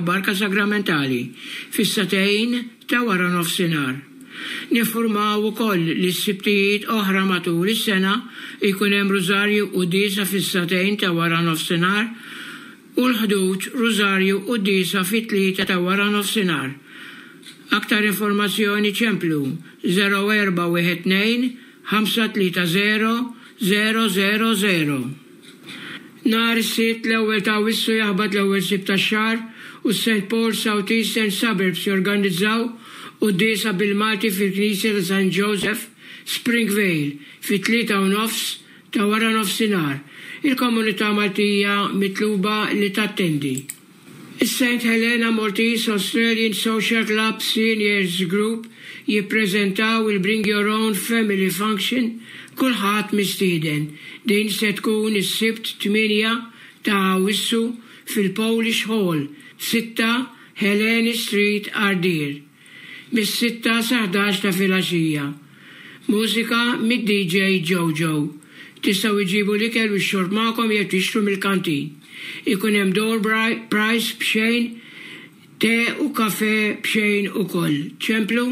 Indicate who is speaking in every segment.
Speaker 1: Barka Sagramentali fis-sagħtejn ta' waranofsinhar. Ninfurmaw ukoll li s-Sibtijiet oħra matul is-sena jkun hemm Rużarju Quddiesa fis-sagħtejn ta' waranofsinhar u l-Ħdud Rużarju Quddiesa fit-tlieta ta' waranofsinhar. Aktar informazzjoni ċemplu 0412 530 000. Nhar is-Sibt l-ewwel ta' Awwissu jaħbat l-ewwel Sibt tax-xahar u s-St Paul South Eastern Suburbs jorganizzaw quddiesa bil-Malti fil-Knisja ta' San Joseph, Springvale, fit-tlieta u nofs ta' waranofsinhar. Il-komunità Maltija mitluba li tattendi. Is-Saint Helena Maltese Australian Social Club Seniors Group jippreżentaw il-Bring Your Own Family Function Kulħadd mistieden. Din se tkun is-Sibt 8 ta' Awwissu fil-Polish Hall, 6 Helene Street, Għardier. Mis-sitta sa 11 ta' filgħaxija. Mużika mid-DJ Jojo. Tistgħu iġġibu l-ikel u x-xorb magħkom jew tixtru mill-kantin. Ikun hemm door prize b'xejn, te u kafè b'xejn ukoll. Ċemplu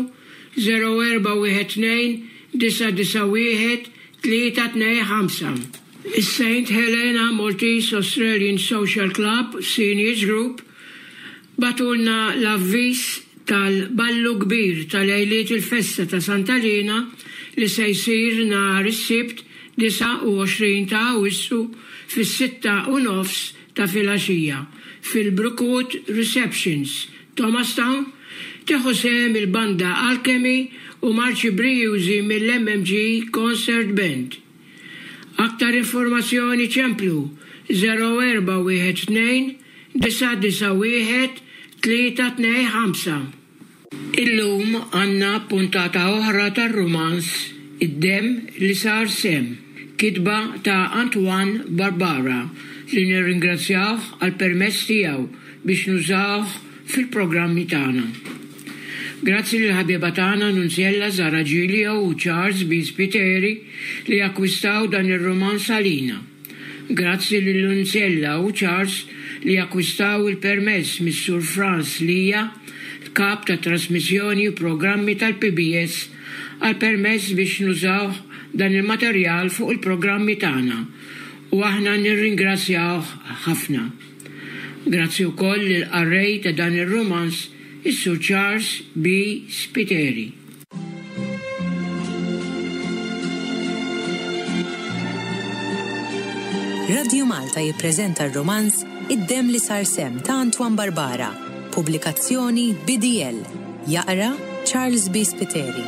Speaker 1: 0412 991 325. Is-Saint Helena Maltese Australian Social Club Seniors Group Bagħtulna l-avviż tal-Ballu Kbir ta' lejliet il-festa ta' Santa Liena li se jsir nhar is-Sibt 29 ta' Awwissu fis-sitta u nofs ta' filgħaxija fil-Brookwood Receptions, Thomastown. Tieħu sehem il-Banda Alchemy u marċi brijużi mill-MMG Concert Band. Aktar informazzjoni ċemplu 0412 991 325. Illum għandna puntata oħra tar-rumanz Id-Demm li Sar Semm, kitba ta' Antoine Barbara li nirringrazzjawh għall-permess tiegħu biex nużawh fil-programmi tagħna. Grazzi lill-ħabieba tagħna Nunziella Zara Giglio u Charles B. Spiteri li akkwistaw dan ir-rumanz għalina. Grazzi lil Nunziella u Charles li akkwistaw il-permess mis-Sur Frans Lia, l-Kap tat-Trasmissjoni u Programmi tal-PBS għall-permess biex nużawh dan il-materjal fuq il-programmi tagħna u aħna nirringrazzjawh ħafna. Grazzi wkoll lill-qarrej ta' dan ir-rumanz, is-Sur Charles B. Spiteri.
Speaker 2: Radju Malta jippreżenta r-rumanz Id-Demm li Sar Semm ta' Antoine Barbara, pubblikazzjoni BDL. Jaqra Charles B. Spiteri.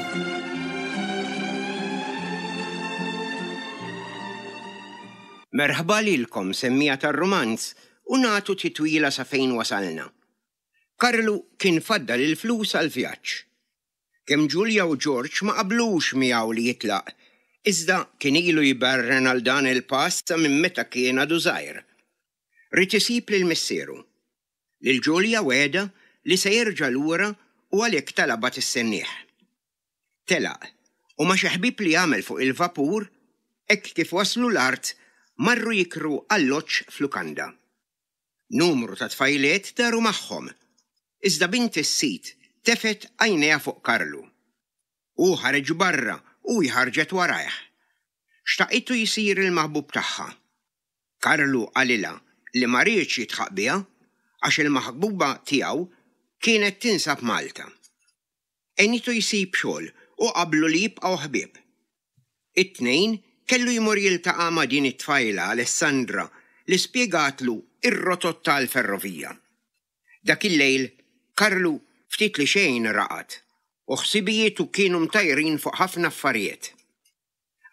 Speaker 3: Merħba lilkom semmiegħa tar-rumanz u nagħtu titwila sa fejn wasalna. Karlu kien faddal il-flus għall-vjaġġ. Kemm Ġulja u Ġorġ ma qablux miegħu li jitlaq, iżda kien ilu jberren għal dan il-pass sa minn meta kien għadu żgħir. Ried isib lil missieru. Lil Ġulja wegħedha li se jerġa' lura u għalhekk talabha tistennieh. Telaq, u ma' xi ħbieb li għamel fuq il-vapur, hekk kif waslu l-art marru jikru alloġġ f'lukanda. Numru ta' tfajliet daru magħhom, iżda bint is-sid tefgħet għajnejha fuq Karlu. Hu ħareġ barra u hi ħarġet warajh. Xtaqitu jsir il-maħbub tagħha. Karlu qalilha li ma riedx jidħaq biha għax il-maħbuba tiegħu kienet tinsab Malta. Għenitu jsib xogħol u qablu li jibqgħu ħbieb. It-Tnejn kellu jmur jiltaqa' ma' din it-tfajla Alessandra li spjegatlu r-rotot tal-ferrovija. Dak il-lejl Karlu ftit li xejn raqad u ħsibijietu kienu mtajrin fuq ħafna affarijiet.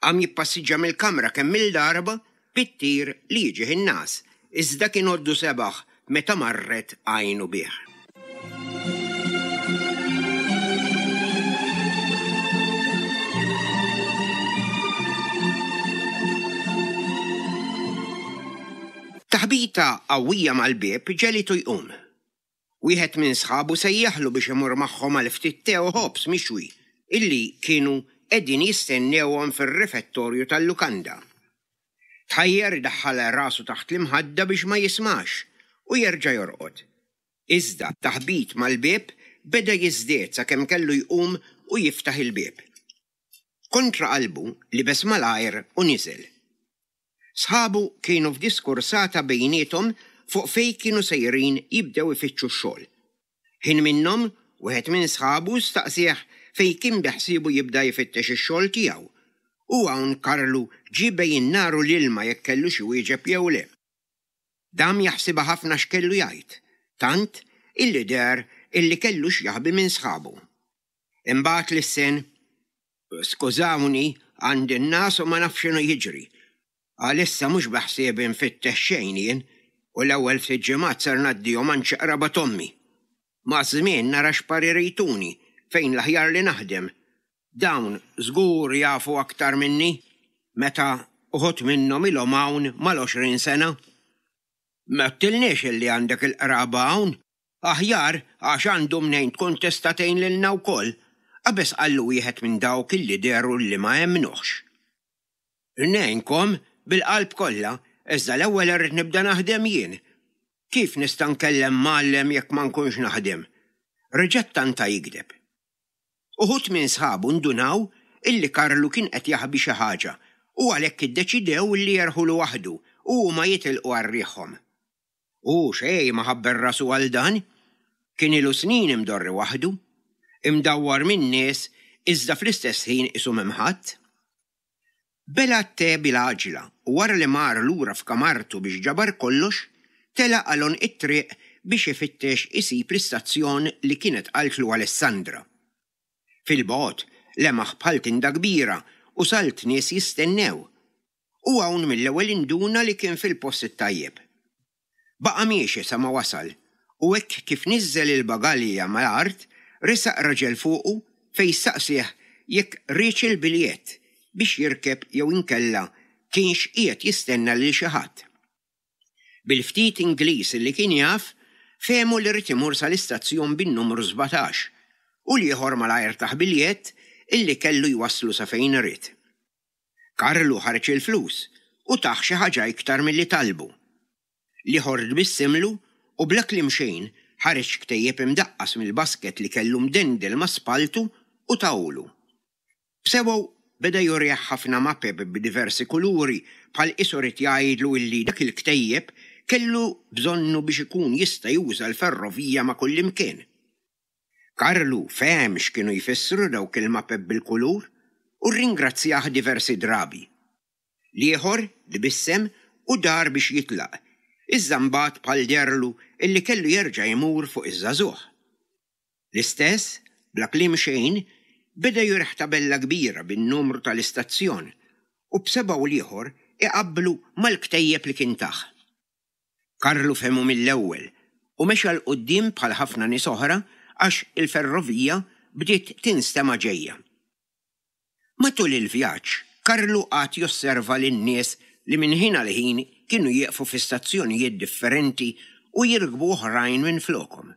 Speaker 3: Qam jippassiġġa mill-kamra kemm-il darba bit-tir li jiġih in-ngħas, iżda kien għoddu sebaħ meta marret għajnu bih. Taħbita qawwija mal-bieb ġegħlitu jqum. Wieħed minn sħabu sejjaħlu biex imur magħhom għal ftit te u ħobż mixwi illi kienu qegħdin jistennewhom fir-refettorju tal-lukanda. Tħajjar idaħħal rasu taħt l-imħadda biex ma jismax u jerġa' jorqod. Iżda t-taħbit mal-bieb beda jiżdied sakemm kellu jqum u jiftaħ il-bieb. Kontra qalbu libes malajr u niżel. Sħabu kienu f'diskursata bejniethom fuq fejn kienu sejrin jibdew ifittxu x-xogħol. Ħin minnhom, wieħed minn sħabu staqsieh fejn kien beħsiebu jibda jfittex ix-xogħol tiegħu. U hawn Karlu ġie bejn in-nar u l-ilma jekk kellux iwieġeb jew le. Dam jaħsibha ħafna x'kellu jgħid, tant illi deher illi kellu x'jaħbi minn sħabu. Imbagħad lissen, Skużawni, għandi n-ngħas u ma nafx x'inhu jiġri. Għalissa mhux beħsiebi nfittex xejn jien u l-ewwel ftit ġimgħat ser ngħaddihom għand xi qraba t'ommi. Maż-żmien nara x'parir jtuni fejn l-aħjar li naħdem. Dawn żgur jafu aktar minni meta uħud minnhom ilhom hawn mal-20 sena. M'għedtilniex illi għandek il-qraba hawn? Aħjar għax għandu mnejn tkun tista' tgħin lilna wkoll, qabeż qallu wieħed minn dawk illi dehru li ma emmnuhx. Ngħinkom bil-qalb kollha, iżda l-ewwel irrid nibda naħdem jien. Kif nista' nkellem mgħallem jekk ma nkunx naħdem? Reġa' ttanta jigdeb. Uħud minn sħabu ndunaw illi Karlu kien qed jaħbi xi ħaġa u għalhekk iddeċidew illi jerħulu waħdu u huma jitilqu għal riħhom. Hu xejn ma ħabbel rasu għal dan. Kien ilu snin imdorri waħdu, imdawwar min-nies iżda fl-istess ħin qisu m'hemm ħadd. Bela' t-te bil-għaġla u wara li mar lura f'kamartu biex ġabar kollox, telaq għal għonq it-triq biex ifittex isib l-istazzjon li kienet qaltlu Alessandra. Fil-bogħod lemaħ bħal tinda kbira u salt nies jistennew. U hawn mill-ewwel induna li kien fil-post it-tajjeb. Baqa' miexi sa ma wasal u hekk kif niżżel il-bagalja mal-art resaq raġel fuqu fejn staqsieh jekk riedx il-biljett biex jirkeb jew inkella kienx qiegħed jistenna lil xi ħadd. Bil-ftit Ingliż li kien jaf, fehmu li ried imur sal-istazzjon bin-numru 17 u l-ieħor malajr tah biljett illi kellu jwasslu sa fejn ried. Karlu ħareġ il-flus u tah xi ħaġa iktar milli talbu. L-ieħor tbissimlu u bla kliem xejn ħareġ ktejjeb imdaqqas mill-basket li kellu mdendel ma' spalltu u tahulu. B'sebgħu beda jurih ħafna mapep b'diversi kuluri bħal qisu ried jgħidlu illi dak il-ktejjeb kellu bżonnu biex ikun jista' juża l-ferrovija ma' kullimkien. Karlu fehem x'kienu jfissru dawk il-mapep bil-kulur u rringrazzjah diversi drabi. L-ieħor tbissem u dar biex jitlaq, iżda mbagħad bħal deherlu illi kellu jerġa' jmur fuq iż-żagħżugħ. L-istess, bla kliem xejn, beda jurih tabella kbira bin-numru tal-istazzjon u b'sebgħu l-ieħor iqabblu mal-ktejjeb li kien tah. Karlu fehmu mill-ewwel u mexa 'l quddiem bħal ħafna nies oħra għax il-ferrovija bdiet tinstema' ġejja. Matul il-vjaġġ, Karlu qagħad josserva lin-nies li minn ħin għal ħin kienu jieqfu fi stazzjonijiet differenti u jirkbu oħrajn minflokhom.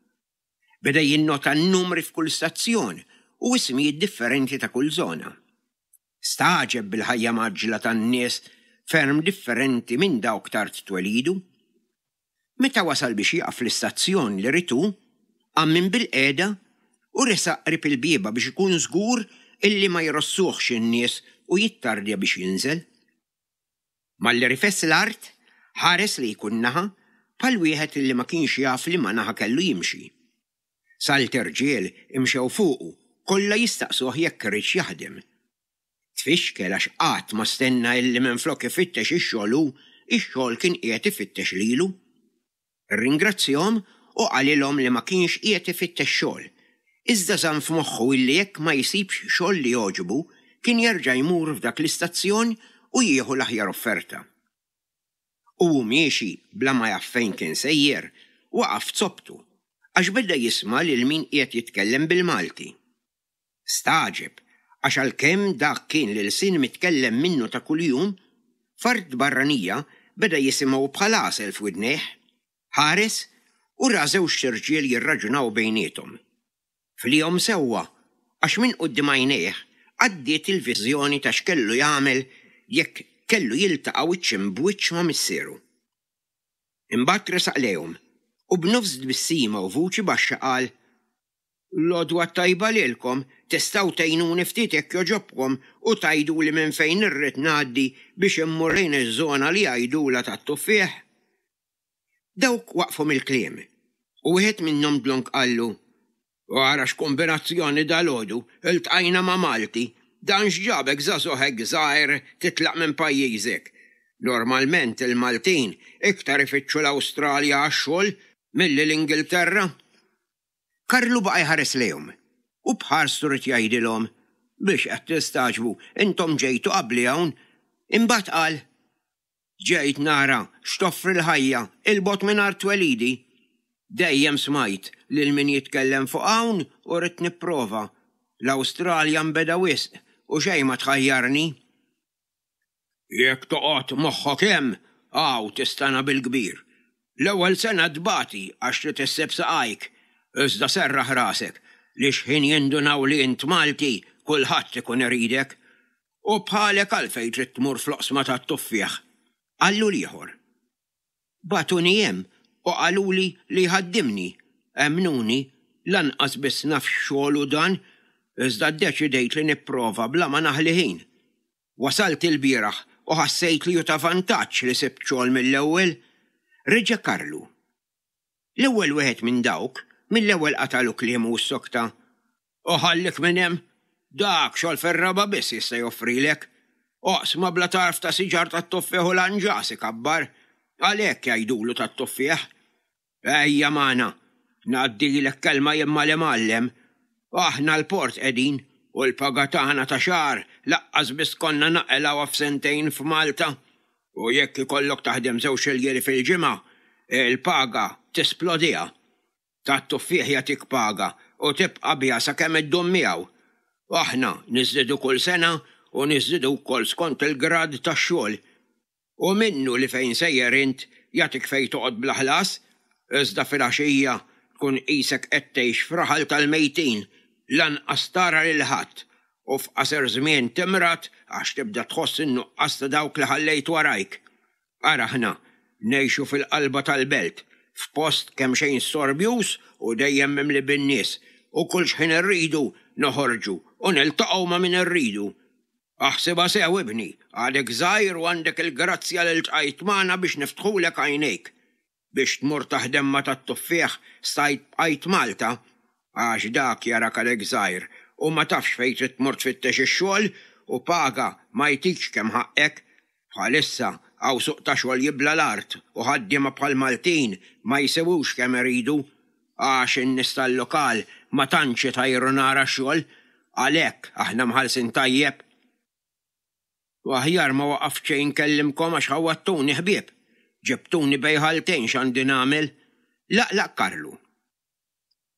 Speaker 3: Beda jinnota n-numri f'kull stazzjon u ismijiet differenti ta' kull żona. Stagħġeb bil-ħajja mgħaġġla tan-nies ferm differenti minn dawk t'art twelidu. Meta wasal biex jieqaf fl-istazzjon li ried hu, qam minn bilqiegħda u resaq qrib il-bieba biex ikun żgur illi ma jrossuhx in-nies u jittardja biex jinżel. Malli rifes l-art, ħares lejn kull naħa bħal wieħed illi ma kienx jaf liema naħa kellu jimxi. Salt irġiel imxew fuqu, kollha jistaqsuh jekk riedx jaħdem. Tfixkel għax qatt ma stenna illi minflok ifittex ix-xogħol hu, ix-xogħol kien qiegħed ifittex lilu. Irringrazzjahom u qalilhom li ma kienx qiegħed ifittex xogħol, iżda żamm f'moħħu illi jekk ma jsibx xogħol li jogħġbu, kien jerġa' jmur f'dak l-istazzjon u jieħu l-aħjar offerta. U hu miexi bla ma jaf fejn kien sejjer, waqaf f'zopptu, għax beda jisma' lil min qiegħed jitkellem bil-Malti. Stagħġeb, għax għalkemm dak kien l-ilsien mitkellem minnu ta' kuljum, f'art barranija beda jisimgħu bħal għasel f'widnejh. Ħares u ra żewġt irġiel jirraġunaw bejniethom. Fliehom sewwa, għax minn quddiem għajnejh għaddiet il-viżjoni ta' x'kellu jagħmel jekk kellu jiltaqa' wiċċ imb'wiċċ ma' missieru. Imbagħad resaq lejhom. U b'nofs tbissima u vuċi baxxa qal, L-għodwa t-tajba lilkom, tistgħu tgħinuni ftit jekk jogħġobkom u tgħiduli minn fejn irrid ngħaddi biex immur lejn iż-żona li jgħidulha tat-tuffieħ? Dawk waqfu mill-kliem, u wieħed minnhom dlonk qallu, Ara x'kumbinazzjoni dalgħodu, iltqajna ma' Malti. Dan x'ġabek żagħżugħ hekk żgħir titlaq minn pajjiżek? Normalment il-Maltin iktar ifittxu l-Awstralja għax-xogħol milli l-Ingilterra. Karlu baqa' jħares lejhom u b'ħarstu ried jgħidilhom, Biex qed tistagħġbu, intom ġejtu qabli hawn. Imbagħad qal, Ġejt nara x'toffri l-ħajja 'il bogħod minn art twelidi. Dejjem smajt lil min jitkellem fuq hawn u ridt nipprova. L-Awstralja nbeda wisq u xejn ma tħajjarni. Jekk toqgħod moħħok hemm, hawn tistana bil-kbir. L-ewwel sena tbati għax trid issib saqajk, iżda serraħ rasek li x'ħin jindunaw li int Malti kulħadd ikun iridek. U bħalek għalfejn trid tmur fl-oqsma tat-tuffieħ? Qallu l-ieħor. Bagħtuni hemm u qaluli li jħaddimni. Emmnuni, lanqas biss naf x'xogħol hu dan, iżda ddeċidejt li nipprova bla ma naħli ħin. Wasalt ilbieraħ u ħassejt li hu ta' vantaġġ li sibt xogħol mill-ewwel. Reġa' Karlu. L-ewwel wieħed minn dawk, mill-ewwel qatagħlu kliemu u ssokta, U ħallik minn hemm! Dak xogħol fir-raba' biss jista' joffrilek. Oqsma bla tarf ta' siġar tat-tuffieħ u lanġas ikabbar. Għalhekk jgħidulu tat-tuffieħ. Ejja magħna, ngħaddilek kelma jien mal-imgħallem. Aħna l-port qegħdin u l-paga tagħna ta' xahar laqqas biss konna naqilgħuha f'sentejn f'Malta. U jekk ikollok taħdem żewġ iljieli fil-ġimgħa, il-paga tisplodiha. Tat-tuffieħ jagħtik paga u tibqa' biha sakemm iddum miegħu. Aħna niżdiedu kull sena u niżdiedu wkoll skont il-grad tax-xogħol. Hu minnu li fejn sejjer int jagħtik fejn toqgħod bla ħlas, iżda filgħaxija tkun qisek qed tgħix f'raħal tal-mejtin, lanqas tara lil ħadd u f'qasir żmien timrad għax tibda tħoss in-nuqqas ta' dawk li ħallejt warajk. Ara aħna, ngħixu fil-qalba tal-belt, f'post kemxejn storbjuż u dejjem mimli bin-nies, u kull x'ħin irridu noħorġu u niltaqgħu ma' min irridu. Aħsibha sew, ibni, għadek żgħir u għandek il-grazzja li ltqajt magħna biex niftħulek għajnejk. Biex tmur taħdem ma' tat-tuffieħ stajt bqajt Malta, għax dak jarak għadek żgħir u ma tafx fejn trid tmur tfittex ix-xogħol u paga ma jtikx kemm ħaqqek. Bħalissa hawn suq ta' xogħol jibla' l-art u ħaddiema bħal Maltin ma jsewwux kemm iridu għax in-nies tal-lokal ma tantx itajru nar għax-xogħol, għalhekk aħna mħallsin tajjeb. U aħjar ma waqaft xejn nkellimkom għax ħawwadtuni ħbieb. Ġibtuni bejn ħaltejn x'għandi nagħmel. Laqlaq Karlu.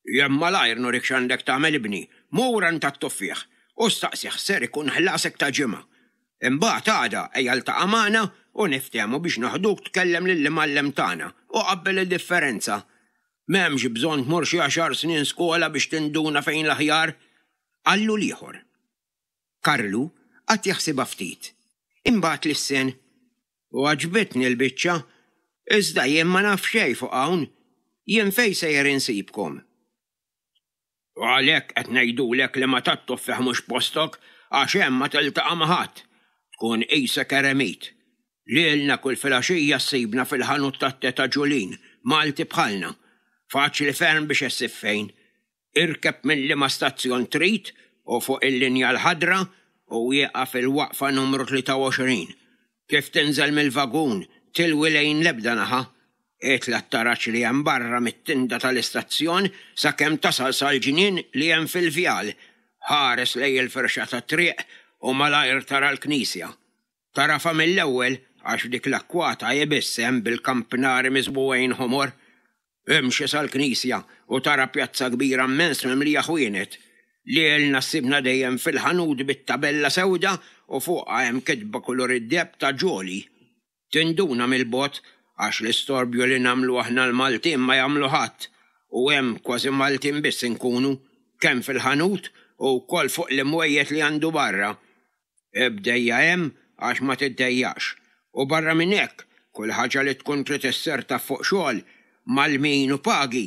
Speaker 3: Jien malajr nurik x'għandek tagħmel ibni, mur għand tat-tuffieħ u staqsih x'ser ikun ħlasek ta' ġimgħa. Imbagħad għada ejja ltaqa' magħna u niftehmu biex noħduk tkellem lill-imgħallem tagħna u qabbel id-differenza. M'hemmx bżonn tmur xi għaxar snin skola biex tinduna fejn l-aħjar. Qallu l-ieħor. Karlu qagħad jaħsibha ftit. Imbagħad lissen. U għaġbitni l-biċċa. Iżda jien ma naf xejn fuq hawn. Jien fejn sejjer insibkom? U għalhekk qed ngħidulek li ma tat-tuffieħ mhux postok għax hemm ma tiltaqa' ma' ħadd. Tkun qisek eremit. Lilna kull filgħaxija ssibna fil-ħanut tat-te ta' Ġulin, Malti bħalna. Faċli ferm biex issib fejn. Irkeb minn liema stazzjon trid u fuq il-linja l-ħadra u ieqaf il-waqfa numru 23. Kif tinżel mill-vagun, tilwi lejn l-ebda naħa. Itla' t-taraġ li hemm barra mit-tinda tal-istazzjon sakemm tasal sal-ġnien li hemm fil-vjal. Ħares lejn il-firxa tat-triq u malajr tara l-knisja. Tagħrafha mill-ewwel għax dik l-akkwata hi biss hemm bil-kampnari miżbugħin ħomor. Imxi sal-knisja u tara pjazza kbira mmens mimlija ħwienet. Lilna ssibna dejjem fil-ħanut bit-tabella sewda u fuqha hemm kitba kulur id-deheb ta' Jolly. Tinduna mill-bogħod għax l-istorbju li nagħmlu aħna l-Maltin ma jagħmlu ħadd u hemm kważi Maltin biss inkunu, kemm fil-ħanut u wkoll fuq l-imwejjed li għandu barra. Ibdejja hemm għax ma tiddejjaqx. U barra minn hekk, kull ħaġa li tkun trid issir taf fuq xogħol, Mgħallmin u pagi,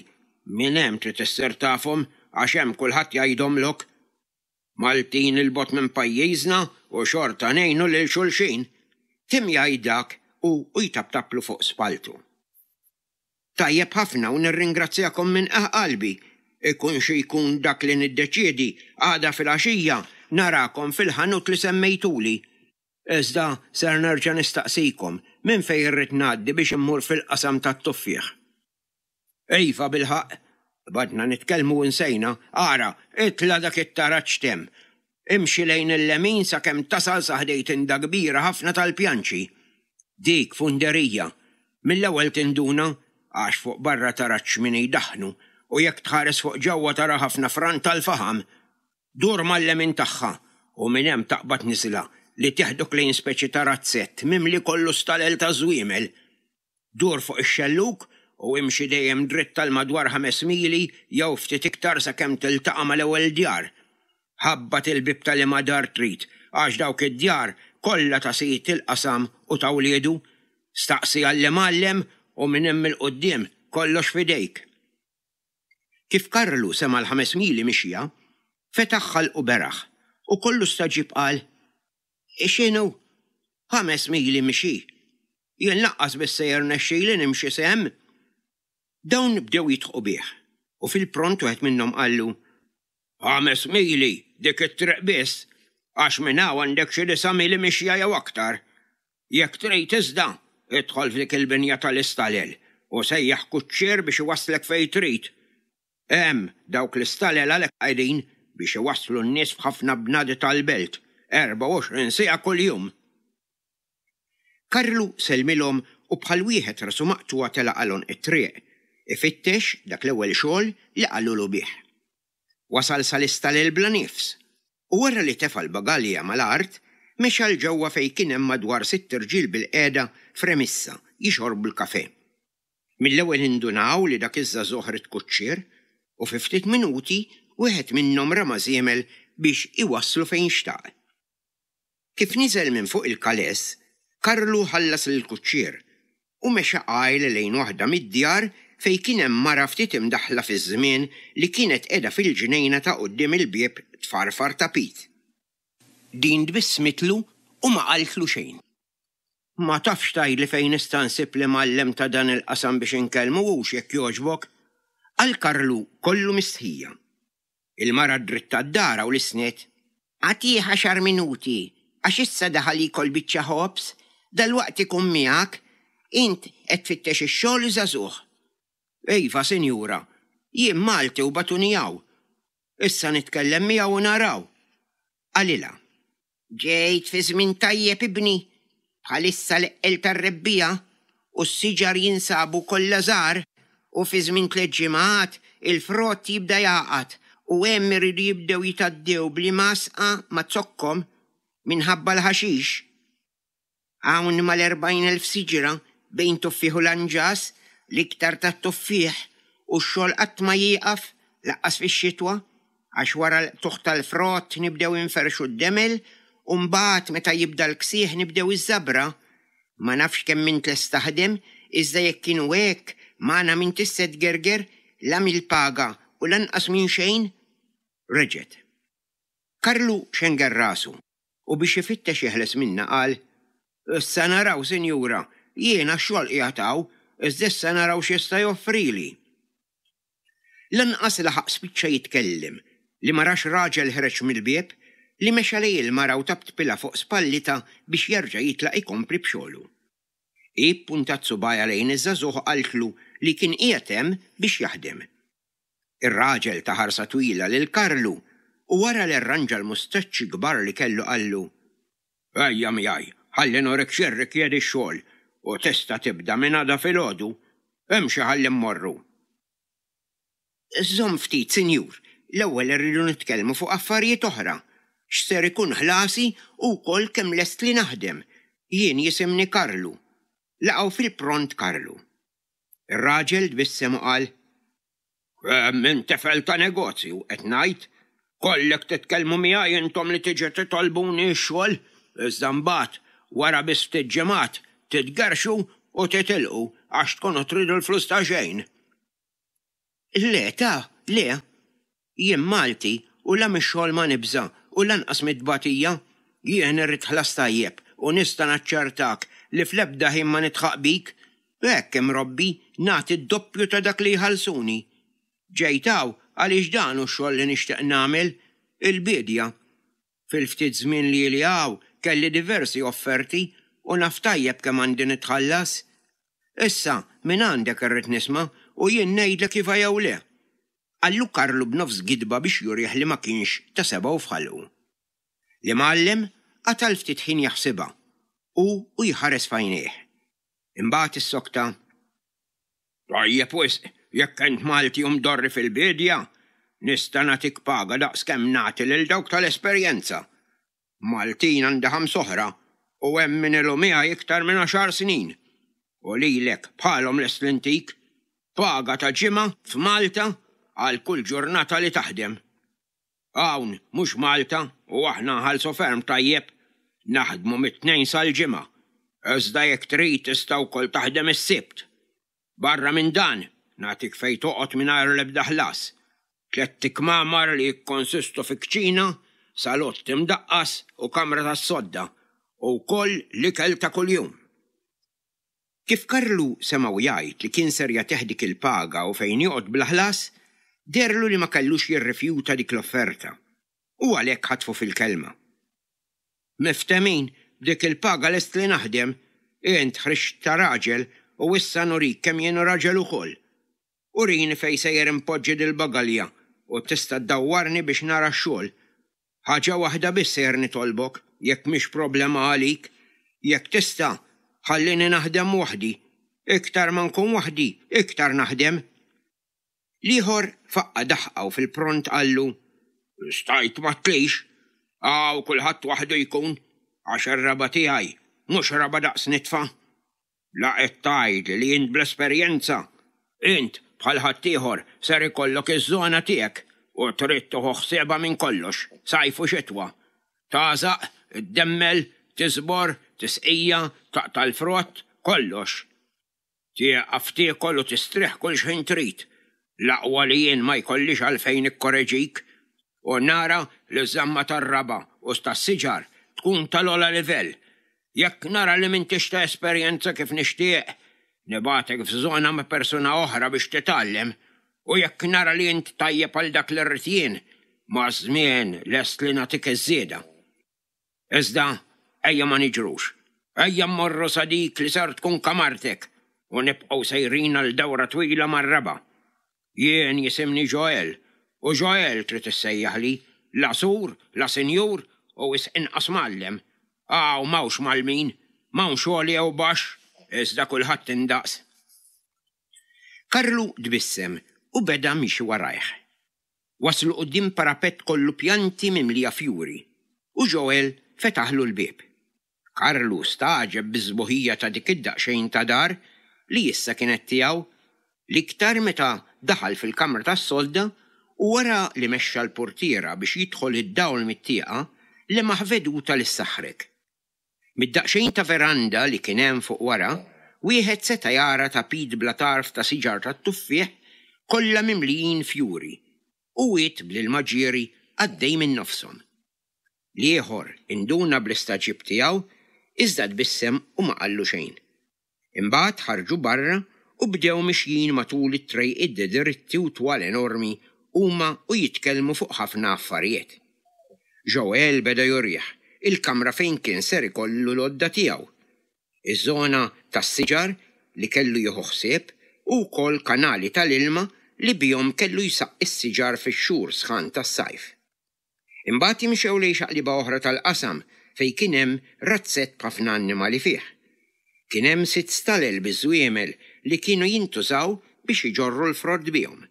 Speaker 3: minn hemm trid issir tafhom għax hemm kulħadd jgħidhomlok. Maltin 'il bogħod minn pajjiżna u xorta ngħinu lil xulxin. Temm jgħid dak hu u jtaptaplu fuq spalltu. Tajjeb ħafna u nirringrazzjakom minn qiegħ qalbi. Ikun xi jkun dak li niddeċiedi, għada filgħaxija narakom fil-ħanut li semmejtuli. Iżda ser nerġa' nistaqsikom minn fejn irrid ngħaddi biex immur fil-qasam tat-tuffieħ. Iva bilħaqq, qbadna nitkellmu u nsejna, ara, itla' dak it-taraġ t'hemm. Imxi lejn il-lemin sakemm tasal sa ħdejn tinda kbira ħafna tal-pjanċi. Dik funderija. Mill-ewwel tinduna għax fuq barra tara ċ-ċmini jdaħħnu u jekk tħares fuq ġewwa tara ħafna fran tal-faħam. Dur mal-lemin tagħha u minn hemm taqbad niżla li teħdok lejn speċi ta' razzett mimli kollu stalel taż-żwiemel. Dur fuq ix-xellug u imxi dejjem dritt għal madwar ħames mili jew ftit iktar sakemm tiltaqa' mal-ewwel djar. Ħabbat il-bieb ta' liema dar trid, għax dawk id-djar kollha ta' sid il-qasam u ta' wliedu. Staqsi għall-imgħallem u minn hemm 'il quddiem kollox f'idejk. Kif Karlu sema' l-ħames mili mixja, fetaħ ħalqu beraħ u kollu stagħġib qal, X'inhu? 5 mili mixi? Jien lanqas biss se jirnexxili nimxi s'hemm! Dawn bdew jidħqu bih, u fil-pront wieħed minnhom qallu, 5 mili dik it-triq biss, għax minn hawn għandek xi disa' mili mixja jew aktar. Jekk trid iżda, idħol f'dik il-binja tal-istalel u sejjaħ kuċċier biex iwasslek fejn trid. Hemm, dawk l-istalel għalhekk qegħdin biex iwasslu n-nies f'ħafna bnadi tal-belt, 24 siegħa kuljum. Karlu sellmilhom u bħal wieħed rasu maqtugħa telaq għal għonq it-triq, ifittex dak l-ewwel xogħol li qalulu bih. Wasal sal-istalel bla nifs, u wara li tefa' l-bagalja mal-art, mexa 'l ġewwa fejn kien hemm madwar sitt irġiel bilqiegħda f'remissa jixorbu l-kafè. Mill-ewwel indunaw li dak iż-żagħżugħ ried kuċċier u fi ftit minuti wieħed minnhom rama żiemel biex iwasslu fejn xtaq. Kif niżel minn fuq il-kaless, Karlu ħallas lill-kuċċier u mexa qajl lejn waħda mid-djar fejn kien hemm mara ftit imdaħħla fiż-żmien li kienet qiegħda fil-ġnejna ta' quddiem il-bieb tfarfar tapit. Din tbissmitlu u ma qaltlu xejn. Ma tafx tgħidli fejn nista' nsib l-imgħallem ta' dan il-qasam biex inkellmu hux jekk jogħġbok? Qal Karlu kollu mistħija. Il-mara ddrittat darha u lissnet. Agħtih għaxar minuti, għax issa daħal jiekol biċċa ħobż, dalwaqt ikun miegħek. Int qed tfittex ix-xogħol żagħżugħ. Iva, sinjura. Jien Malti u bagħtuni hawn. Issa nitkellem miegħu u naraw. Qalilha. Ġejt fi żmien tajjeb, ibni. Bħalissa l-eqqel tar-rebbiegħa u s-siġar jinsabu kollha żgħar u fi żmien tlett ġimgħat il-frott jibda jagħqad u hemm iridu jibdew jitgħaddew bl-imgħasqa ma' zokkhom minħabba l-ħaxix. Hawn mal-40,000 siġra bejn tuffieħ u lanġas, l-iktar tat-tuffieħ, u x-xogħol qatt ma jieqaf, lanqas fix-xitwa, għax wara l-qtugħ tal-frott nibdew inferrxu d-demel u mbagħad meta jibda l-ksieħ nibdew iż-żabra. Ma nafx kemm int lest taħdem, iżda jekk inhu hekk, magħna m'intix se tgerger, la mill-paga u lanqas minn xejn. Reġgħet. Karlu xenger rasu. U biex ifittex jeħles minnha qal, Issa naraw, sinjura, jien għax-xogħol qiegħed hawn, iżda issa naraw x'jista' joffrili. Lanqas laħaq spiċċa jitkellem li ma rax raġel ħreġ mill-bieb, li mexa lejn il-mara u taptpilha fuq spallitha biex jerġa' jitlaq ikompli b'xogħlu. Hi ppuntat subgħajha lejn iż-żagħżugħ u qaltlu li kien qiegħed hemm biex jaħdem. Ir-raġel ta ħarsa twila lil Karlu u wara li rranġa l-mustaċċi kbar li kellu qallu, Ejja miegħi, ħalli nurik x'jirrikjedi x-xogħol u tista' tibda minn għada filgħodu. Imxi ħalli mmorru. Żomm ftit, sinjur, l-ewwel irridu nitkellmu fuq affarijiet oħra. X'ser ikun ħlasi u wkoll kemm lest li naħdem. Jien jisimni Karlu. Laqgħu fil-pront Karlu. Ir-raġel tbissem u qal, Kemm int tifel ta' negozju, qed ngħid. Kollek titkellmu miegħi intom li tiġu titolbuni x-xogħol, iżda mbagħad, wara biss ftit ġimgħat, titgerrxu u titilqu għax tkunu tridu l-flus ta' xejn. Le, ta, le. Jien Malti u la mix-xogħol ma nibża' u lanqas mit-tbatija. Jien irrid ħlas tajjeb u nista' naċċertak li fl-ebda ħin ma nidħaq bik. Hekk imrobbi, nagħti d-doppju ta' dak li jħallsuni. Ġejt hawn għaliex dan hu x-xogħol li nixtieq nagħmel, il-biedja. Fil-ftit żmien li ili hawn kelli diversi offerti u naf tajjeb kemm għandi nitħallas. Issa, mingħandek irrid nisma' u jien ngħidlek iva jew le. Qallu Karlu b'nofs gidba biex jurih li ma kienx ta' sebgħu f'ħalqu. L-imgħallem qata' l-ftit ħin jaħsibha, hu u jħares f'għajnejh. Imbagħad issokta, Tajjeb wisq, jekk int Malti u mdorri fil-biedja, nista' nagħtik paga daqs kemm nagħti lil dawk tal-esperjenza. Maltin għandi ħams'oħra u hemm min ilu miegħi iktar minn għaxar snin. U lilek bħalhom lest li ntik paga ta' ġimgħa f'Malta għal kull ġurnata li taħdem. Hawn mhux Malta u aħna nħallsu ferm tajjeb. Naħdmu mit-Tnejn sal-Ġimgħa. Iżda jekk trid tista' wkoll taħdem is-Sibt. Barra minn dan, nagħtik fejn toqgħod mingħajr l-ebda ħlas. Tlett ikmamar li jikkonsistu fi kċina, salott imdaqqas u kamra tas-sodda, u wkoll l-ikel ta' kuljum. Kif Karlu semgħu jgħid li kien ser jagħtih dik il-paga u fejn joqgħod bla ħlas, deherlu li ma kellux jirrifjuta dik l-offerta, u għalhekk ħatfu fil-kelma. Miftehmin, b'dik il-paga lest li naħdem. Int ħriġt ta' raġel u issa nurik kemm jien raġel ukoll. Urini fejn sejjer inpoġġi dil-bagalja u tista' ddawwarni biex nara x-xogħol. Ħaġa waħda biss sejjer nitolbok, jekk mhix problema għalik, jekk tista', ħallini naħdem waħdi. Iktar ma nkun waħdi, iktar naħdem. L-ieħor faqqa' daħqa u fil-pront qallu, Stajt ma tlix, hawn kulħadd waħdu jkun, għax ir-raba' tiegħi mhux raba' daqs nitfa. La qed tgħidli li int bl-esperjenza. Int, bħal ħaddieħor, ser ikollok iż-żona tiegħek u trid tieħu ħsiebha minn kollox, sajf u xitwa. Tagħżaq, iddemmel, tiżbor, tisqija, taqta' l-frott, kollox. Tieqaf tiekol u tistrieħ kull x'ħin trid. L-aqwa li jien ma jkollix għalfejn nikkoreġik u nara li ż-żamma tar-raba' u tas-siġar tkun tal-ogħla livell. Jekk nara li m'intix ta' esperjenza kif nixtieq, nibgħatek f'żona ma' persuna oħra biex titgħallem u jekk nara li int tajjeb għal dak li rrid jien, maż-żmien lest li nagħtik iż-żieda. Iżda ejja ma niġrux. Ejja mmorru sa dik li ser tkun kamartek u nibqgħu sejrin għal dawra twila mar-raba'. Jien jisimni Joel, u Joel trid issejjaħli, la sur, la sinjur u wisq inqas mgħallem. Hawn m'hawnx mgħallmin, m'hawnx għoli jew baxx, iżda kulħadd indaqs. Karlu tbissem u beda miexi warajh. Waslu quddiem parapett kollu pjanti mimlija fjuri, u Joel fetaħlu l-bieb. Karlu stagħġeb bis-sbuħija ta' dik id-daqsxejn ta' dar li issa kienet tiegħu, l-iktar meta daħal fil-kamra tas-sodda u wara li mexxa l-purtiera biex jidħol id-dawl mit-tieqa, lemaħ veduta li ssaħħrek. Mid-daqsxejn ta' veranda li kien hemm fuq wara, wieħed seta' jara tapit bla tarf ta' siġar tat-tuffieħ kollha mimlijin fjuri u wied bl-ilma ġieri għaddej minn nofshom. L-ieħor induna bl-istagħġib tiegħu iżda tbissem u ma qallu xejn. Imbagħad ħarġu barra u bdew mixjin matul it-trejqiet dritti u twal enormi huma u jitkellmu fuq ħafna affarijiet. Joel beda jurih il-kamra fejn kien ser ikollu l-għodda tiegħu, iż-żona tas-siġar li kellu jieħu ħsieb u wkoll kanali tal-ilma li bihom kellu jsaqqi s-siġar fix-xhur sħan tas-sajf. Imbagħad imxew lejn xaqliba oħra tal-qasam fejn kien hemm razzett b'ħafna annimali fih. Kien hemm sitt stalel biż-żwiemel li kienu jintużaw biex iġorru l-frott bihom.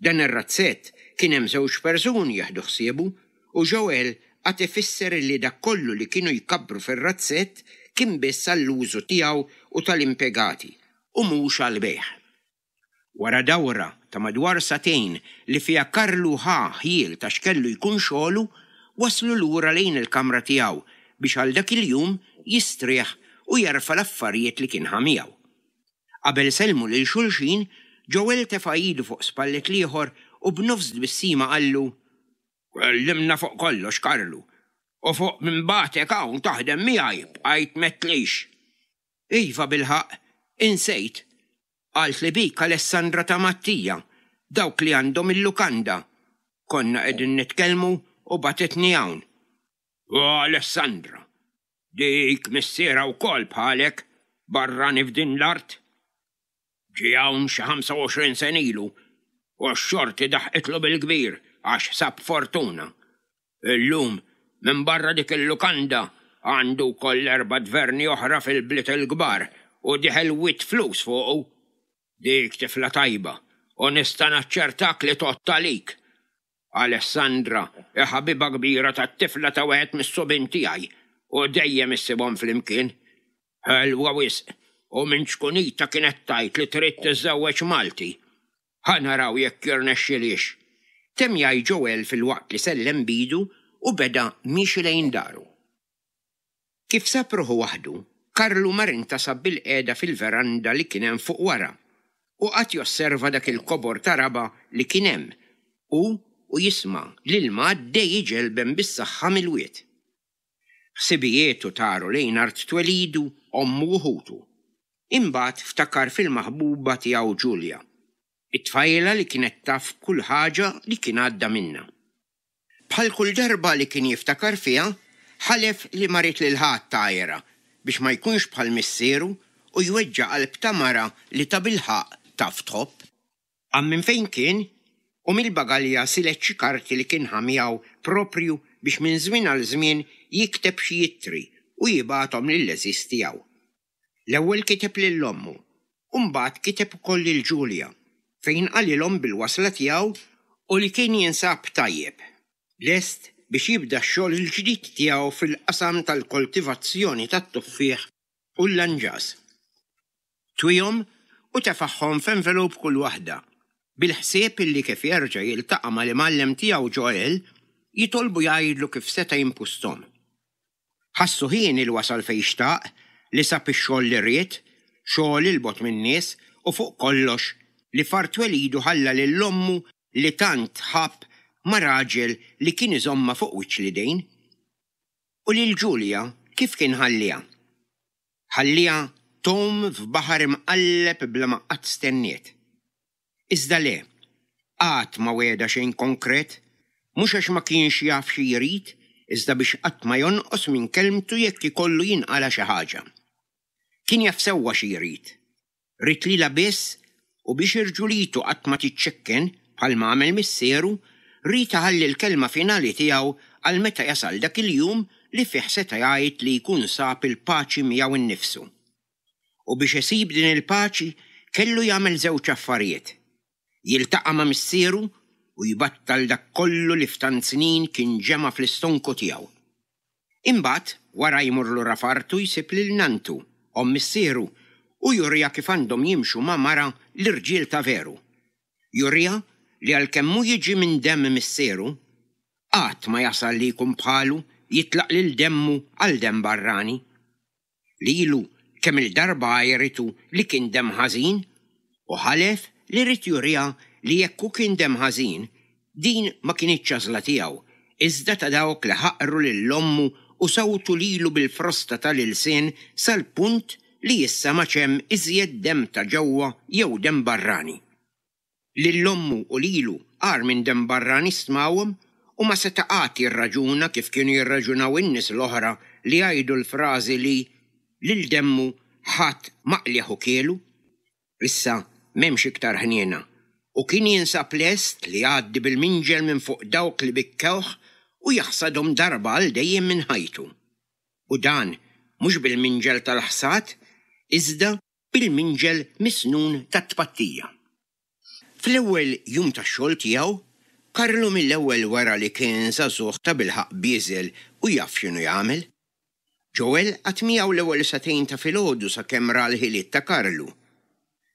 Speaker 3: Dan ir-razzett kien hemm żewġ persuni jieħdu ħsiebu u Joel qagħad ifisser illi dak kollu li kienu jkabbru fir-razzett kien biss għall-użu tiegħu u tal-impjegati u mhux għall-bejgħ. Wara dawra ta' madwar sagħtejn li fiha Karlu ħa ħjiel ta' x'kellu jkun xogħlu, waslu lura lejn il-kamra tiegħu biex għal dak il-jum jistrieħ u jerfa' l-affarijiet li kien ħa miegħu. Qabel sellmu lil xulxin, Joel tefa' idu fuq spallet l-ieħor u b'nofs tbissima qallu, Kellimna fuq kollox, Karlu, u fuq min bagħtek hawn taħdem miegħi bqajt m'għedtlix. Iva bilħaqq, insejt. Qaltli bik Alessandra ta' Mattia, dawk li għandhom il-lukanda. Konna qegħdin nitkellmu u bagħtitni hawn. O Alessandra! Dik missierha wkoll bħalek, barrani f'din l-art. Ġie hawn xi 25 sena ilu u x-xorti daħqitlu bil-kbir għax sab fortuna. Illum, minbarra dik il-lukanda, għandu wkoll erba' tverni oħra fil-bliet il-kbar u dieħel wied flus fuqu. Dik tifla tajba u nista' naċċertak li tgħodd għalik. Alessandra hi ħabiba kbira tat-tifla ta' wieħed mis-subien tiegħi u dejjem issibhom flimkien. Ħelwa wisq u minn ċkunitha kienet tgħid li trid tiżżewweġ Malti. Ħa naraw jekk jirnexxilhiex. Temm jgħid Joel filwaqt li sellem b'idu u beda miexi lejn daru. Kif sab ruħu waħdu, Karlu mar intasab bilqiegħda fil-veranda li kien hemm fuq wara u qagħad josserva dak il-kobor ta' raba' li kien hemm, hu u jisma' l-ilma għaddej iġelben bis-saħħa mill-wied. Ħsibijietu taru lejn art twelidu, ommu u ħutu. Imbagħad ftakar fil-maħbuba tiegħu Ġulja, it-tfajla li kienet taf b'kull ħaġa li kien għadda minnha. Bħal kull darba li kien jiftakar fiha, ħalef li ma ried lil ħadd għajrha biex ma jkunx bħal missieru u jweġġa' qalb ta' mara li tabilħaqq taf tħobb. Qam minn fejn kien u mill-bagalja silet xi karti li kien ħa miegħu proprju biex minn żmien għal żmien jikteb xi ittri u jibgħathom lill-għeżież tiegħu. L-ewwel kiteb lil ommu u mbagħad kiteb ukoll lil Julia fejn qalilhom bil-wasla tiegħu u li kien jinsab tajjeb, lest biex jibda x-xogħol il-ġdid tiegħu fil-qasam tal-koltivazzjoni tat-tuffieħ u l-lanġas. Twihom u tefagħhom f'envelope kull waħda, bil-ħsieb illi kif jerġa' jiltaqa' mal-imgħallem tiegħu Joel, jitolbu jgħidlu kif seta' jimpusthom. Ħassu hieni li wasal fejn xtaq, li sab ix-xogħol li ried, xogħol 'il bogħod min-nies u fuq kollox li f'art twelidu ħalla lil ommu li tant ħabb ma' raġel li kien iżommha fuq wiċċ l-idejn. U lil Julia kif kien ħalliha? Ħalliha tgħum f'baħar imqalleb bla ma qatt stenniet. Iżda le, qatt ma wegħda xejn konkret, mhux għax ma kienx jaf xi jrid, iżda biex qatt ma jonqos minn kelmtu jekk ikollu jinqala' xi ħaġa. Kien jaf sewwa xi jrid. Ried lilha biss u biex irġulitu qatt ma tiċċekken, bħalma għamel missieru, ried iħalli l-kelma finali tiegħu għal meta jasal dak il-jum li fih seta' jgħid li jkun sab il-paċi miegħu nnifsu. U biex isib din il-paċi kellu jagħmel żewġ affarijiet, jiltaqa' ma' missieru u jbattal dak kollu li f'tant snin kien ġema' fl-istonku tiegħu. Imbagħad, wara jmur lura f'artu jsib lil nanntu, omm missieru, u juriha kif għandhom jimxu ma' mara l-irġiel ta' veru. Juriha li għalkemm hu jiġi minn demm missieru, qatt ma jasal li jkun bħalu, jitlaq lil demmu għal demm barrani. Lilu kemm-il darba għajritu li kien demm ħażin u ħalef li ried juriha li jekk hu kien demm ħażin, din ma kinitx għażla tiegħu, iżda ta' dawk li ħaqru lil ommu u sawtu lilu bil-frosta tal-ilsien sal-punt li issa m'għadx hemm iżjed demm ta' ġewwa jew demm barrani. Lil ommu u lilu agħar minn demm barrani stmawhom u ma seta' qatt jirraġuna kif kienu jirraġunaw in-nies l-oħra li jgħidu l-frażi li lil demmu ħadd ma qlieh u kielu. Issa m'hemmx iktar ħniena u kien jinsab lest li jgħaddi bil-minġel minn fuq dawk li bikkewh u jaħsadhom darba għal dejjem minn ħajtu. U dan mhux bil-minġel tal-ħsad iżda bil-minġel misnun tat-tpattija. Fl-ewwel jum tax-xogħol tiegħu, Karlu mill-ewwel wera li kien żagħżugħ tabilħaqq bieżel u jaf x'inhu jagħmel. Joel qagħad miegħu l-ewwel sagħtejn ta' filgħodu sakemm ra l-ħiliet ta' Karlu.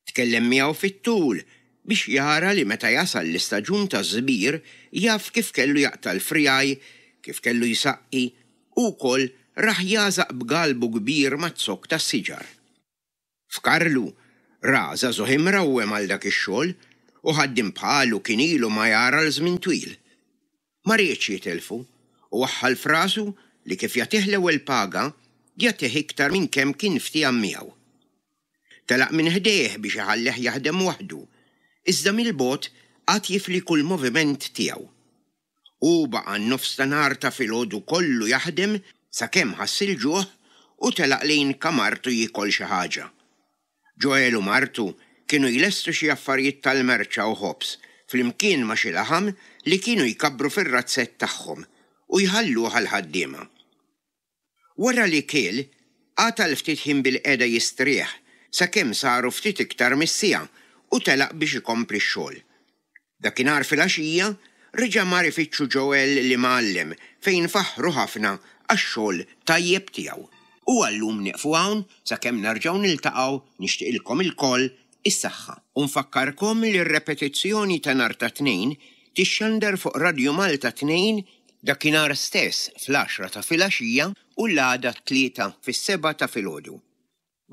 Speaker 3: Tkellem miegħu fit-tul biex jara li meta jasal l-istaġun taż-żbir jaf kif kellu jaqta' l-friegħi, kif kellu jsaqqi u wkoll rah jagħżaq b'galbu kbir maz-zokk tas-siġar. F'Karlu, Ra żagħżugħ imrawwem għal dak ix-xogħol u ħaddiem bħalu kien ilu ma jara għal żmien twil. Ma riedx jitilfu u waħħal f'rasu li kif jagħtih l-ewwel paga, jagħtih iktar minn kemm kien ftiehem miegħu. Telaq minn ħdejh biex iħallih jaħdem waħdu, iżda mill-bogħod qagħad jifli kull moviment tiegħu. Hu baqa' n-nofs ta' nhar ta' filgħodu kollu jaħdem sakemm ħass il-ġuħ u telaq lejn kamartu jiekol xi ħaġa. Joel u martu kienu jlestu xi affarijiet tal-merċa u ħobż flimkien ma' xi laħam li kienu jkabbru fir-razzett tagħhom u jħalluh għall-ħaddiema. Wara li kiel, qagħad għal ftit ħin bilqiegħda jistrieħ sakemm saru ftit iktar mis-siegħa u telaq biex ikompli x-xogħol. Dakinhar filgħaxija, reġa' mar ifittxu Joel l-imgħallem fejn faħħru ħafna għax-xogħol tajjeb tiegħu. U għal-lum nieqfu hawn sakemm nerġgħu niltaqgħu nixtieqilkom ilkoll is-saħħa. U nfakkarkom li r-repetizzjoni ta' nhar ta' Tnejn tixxandar fuq Radju Malta 2 dakinhar stess fl-għaxra ta' filgħaxija u l-għada t-Tlieta fis-sebgħa ta' filgħodu.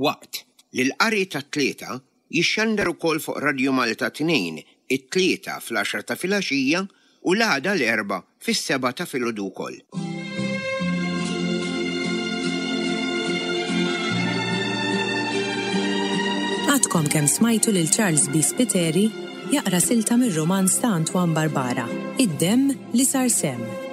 Speaker 3: Waqt li l-qari tat-Tlieta jixxandar ukoll fuq Radju Malta 2 it-Tlieta fl-għaxra ta' filgħaxija u l-għada l-Erbgħa fis-sebgħa ta' filgħodu wkoll.
Speaker 2: Għadkom kemm smajtu lil Charles B. Spiteri jaqra silta mir-rumanz ta' Antoine Barbara, Id-Demm li Sar Semm.